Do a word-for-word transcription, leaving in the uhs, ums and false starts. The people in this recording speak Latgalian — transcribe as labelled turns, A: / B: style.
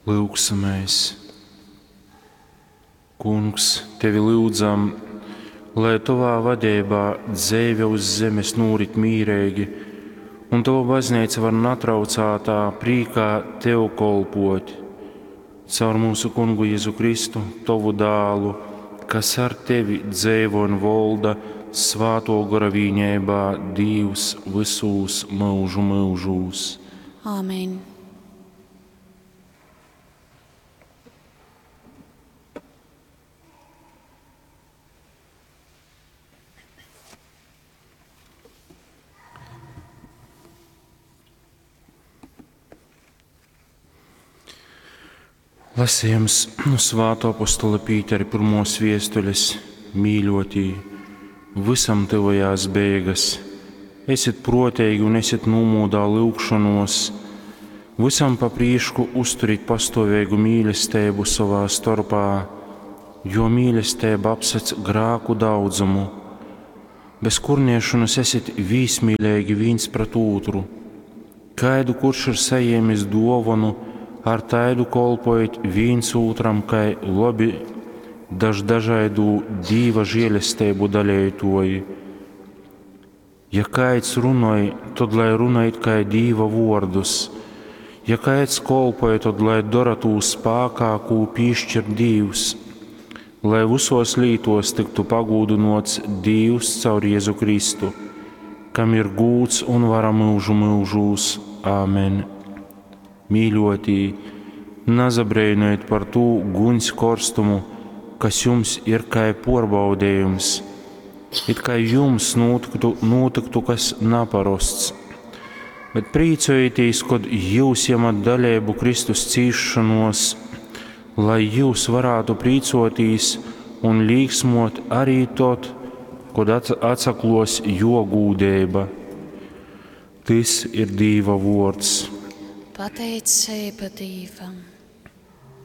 A: Lūgsimies! Kungs, tevi lyudzam, lai tovā vadeibā dzeive uz zemes nūrit mīreigi, un tova bazneica var natraucātā prīkā tev kolpot. Caur mūsu kungu Jēzu Kristu, tovu dālu, kas ar tevi dzeivo un volda svāto gora vīneibā Dīvs vysūs myužu myužūs.
B: Āmen.
A: Lasījums no Svāto apostola Pītera pirmos viestules mīļotī, visam tuvojās beigas. Esiet protīgi un esiet nomūdā lūgšanos, visam pa prīšku uzturit pastāvīgu mīlestību savā starpā, jo mīlestība apsedz grāku daudzumu. Bez kurniešanas esiet vīsmīlīgi viens pret otru. Kaidu kurš ir saņēmis dāvanu, ar taidu kolpojit viens otram, kai labi daž dažaidu Dīva žēlestību dalētoji. Ja kāds runoj, tad lai runā it kā Dīva vārdus. Ja kāds kolpoja, tad lai dara tū spākā, kū piešķir Dīvs, lai visos lītos tiktu pagūdinots Dīvs caur Jēzu Kristu, kam ir gūds un vara mūžu mūžūs. Āmen. Mīļotī, nazabrēnojiet par tū guņs korstumu, kas jums ir kā porbaudījums, it kā jums notiktu, notiktu kas naparosts. Bet priecājieties, kad jūs iemat dalību Kristus cīšanos, lai jūs varētu priecoties un līksmot arī tad, kad atsaklos jo gūdība. Tis ir Dīva vārds.
B: Pateicība Dievam.